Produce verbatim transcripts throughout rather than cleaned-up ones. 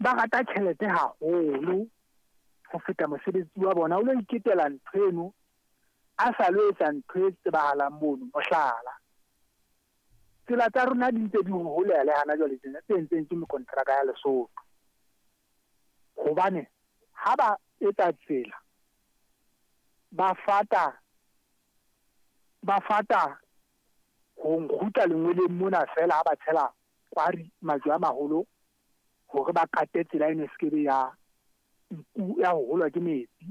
Ba rata tjhelete haholo ho feta mosebetsi wa bona. O lo iketela ntho eno a sa lo etsa ntho e tsebahalang mono. Mohlala, tsela tsa rona di ntse di holeha le hana jwale tjena tse entseng ke mekontraka ya Lesotho. Hobane ha ba etsa tsela ba fata ba fata ho nkgutla lengweleng mona feela ha ba tshela kwari majwe a maholo hore ba kate tsela eno e sekebe ya ya ho holwa ke metsi.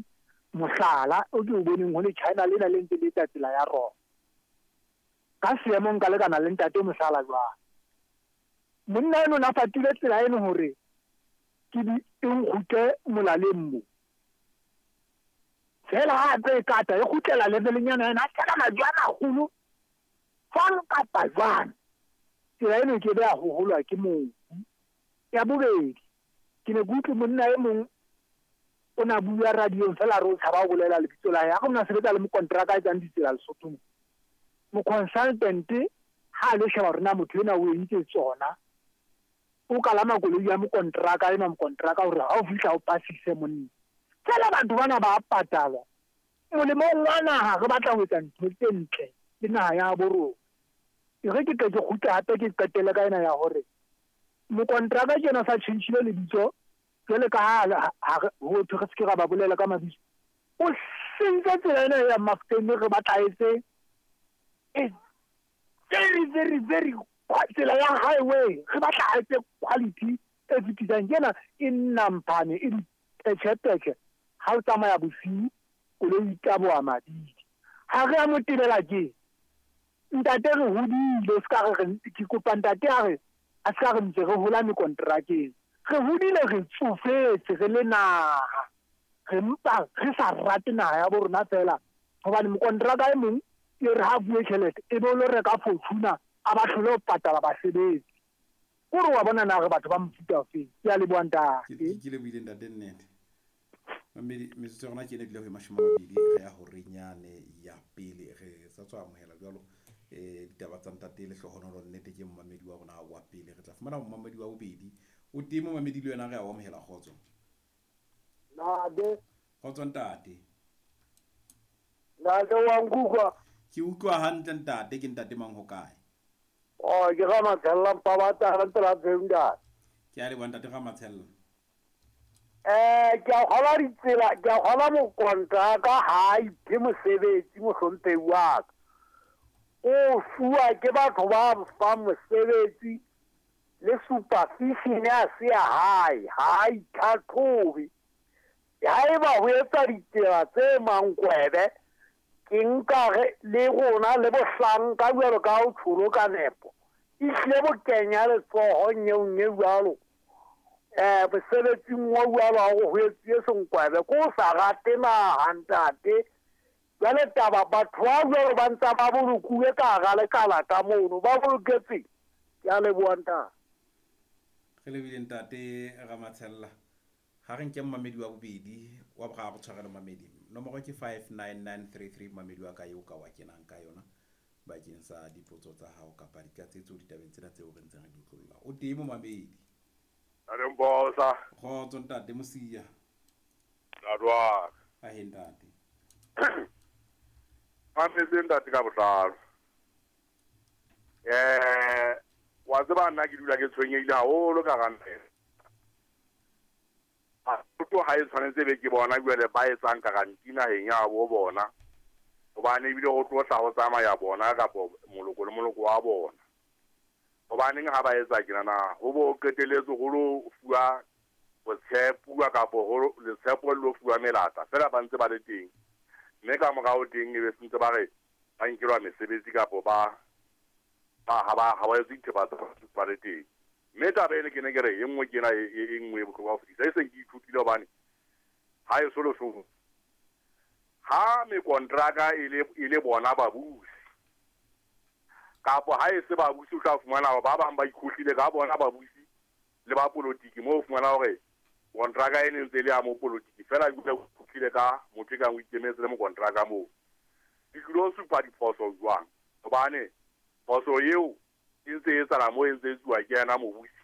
Mohlala o ke o boneng ho le China lena le ntse le etsa tsela ya rona. Ka seemo nka lekana le ntate mohlala jwang. Monna eno na fatile tsela eno hore ke di e nkgutle molaleng mo. Feela ha tse e kata e kgutlela leveleng-nyana ena a tshela majwe a maholo jwang kapa jwang. Tsela eno e ke be ya ho holwa ke mobu. Ya bobedi, ke ne ke utlwe monna e mong o na bua radiong feela re o tshaba ho bolela lebitso la hae. Ha o na sebetsa le mokonteraka a etsang ditsela Lesotho mo. Mo-consultant ha a lo sheba hore na motho enwa o entse tsona, o kalama koloi ya mokonteraka enwa mokonteraka hore ha o fihla o pasise monna. Feela batho bana ba patalwa. Molemong wa naha re batla ho etsa ntho tse ntle le naha ya bo rona. E re ke tle ke kgutle hape ke qetelle ka ena ya hore mokonteraka ke yena sa tjhentjhile lebitso jwale ka ha ho thwe re se ke ra ba bolela ka mabitso. O sentse tsela ena ya Mafuteng re batla etse e very very very tsela ya highway re batla a etse quality e fetisang. Ke ena e nnampane e dipetjhepetjhe ha o tsamaya bosiu koloi e taboha mabidi. Ha re a mo tebela ke ntate re hodile, o ska re re ke kopa ntate a re a ska re ntse re hola mekontrakeng. Re hodile re tsofetse re le naha, re mpa re sa rate naha ya bo rona feela hobane mokontraka e mong e re ha bue tjhelete e be o lo reka Fortuner a ba hlole ho patala basebetsi. Kore wa bona na re batho ba mofuta ofeng. Ke a leboha ntate. Ke ke lebohile ntate nnete. Mamedi metsotso ya rona ke ena ebile ho e mashome a mabedi re ya horenyane ya pele re sa tswa amohela jwalo eh ditaba tsa ntate Lehlohonolo nnete ke momamedi wa rona wa pele. Re tla fumana momamedi wa bobedi o teng momamedi le wena re a o amohela. Kgotso. Ntate. Kgotso ntate. Ntate wa nkutlwa? Ke utlwa hantle ntate. Ke ntate mang ho kae? Oh, ke Ramatshella Mpabatana tsela teng ntate. Ke a leboha ntate Ramatshella. Eh, ke a kgolwa ditsela, ke a kgolwa mokontraka ha a iphe mosebetsi mohlomphehi wa ka. O fuwa ke batho ba fang mosebetsi le supervision ya se ya hae, ha a itlhatlhobe. Haeba ho etsa ditsela tse mankwebe, ke nka re le rona le bohlanka jwalo ka ho tsholo ka nepo. Ehlile bo kenya letsoho nyeong e jwalo. Eh, mosebetsing wa jwalo ha ho etsuwe senkwebe, ke o sa rate naha ntate. Jwale taba batho ba jwalo ba ntsa ba bolokuwe ka hara lekala ka mono, ba boloketse. Ke a leboha ntate. Re lebohile ntate Ramatshella. Ha re nke momamedi wa bobedi wa boraro tshwarelo mamedi. Nomoro ke five nine nine three three momamedi wa ka eo ka wa kenang ka yona bakeng sa dipotso tsa hao kapa ditlatsetso ditabeng tsena tseo re ntseng re di utlolla. O teng momamedi. Ntate Mposa. Kgotso ntate Mosia. Ntate wa ka. Ahe ntate. Mametse ntate ka botlalo. Eh, wa tseba nna ke dula ke tshwenyehile haholo ka ranta. Basotho ha e tshwanetse be ke bona jwale ba etsang guarantee naheng ya bo bona. Hobane ebile ho tlo tla ho tsamaya bona kapa moloko le moloko wa bona. Hobaneng ha ba etsa tjena na ho bo qetelletse ho lo fuwa botshepuwa kapa ho letshepo le lo fuwa melata fela ba ntse ba le teng. Mme ka morao teng e be sentse ba re ba nkelwa mesebetsi kapa ba ba ha ba ha ba etse dithepa tsa ba le teng. Mme taba ene ke ne ke re e nngwe ke ena e e nngwe e bohlokwa ho fetisa e seng ke ithutile hobane ha e so Lesotho. Ha mekontraka e le e le bona babusi kapa ha e se babusi o tla fumana hore ba bang ba ikhohlile ka bona babusi le ba politiki mo o fumana hore kontraka e ne ntse le ya mo politiki fela ebile o ikhohlile ka motho e kang o ikemetse le mokontraka moo. Di tlilo supa diphoso jwang? Hobane phoso eo e ntse e etsahala moo e ntse e etsuwa ke yena mobusi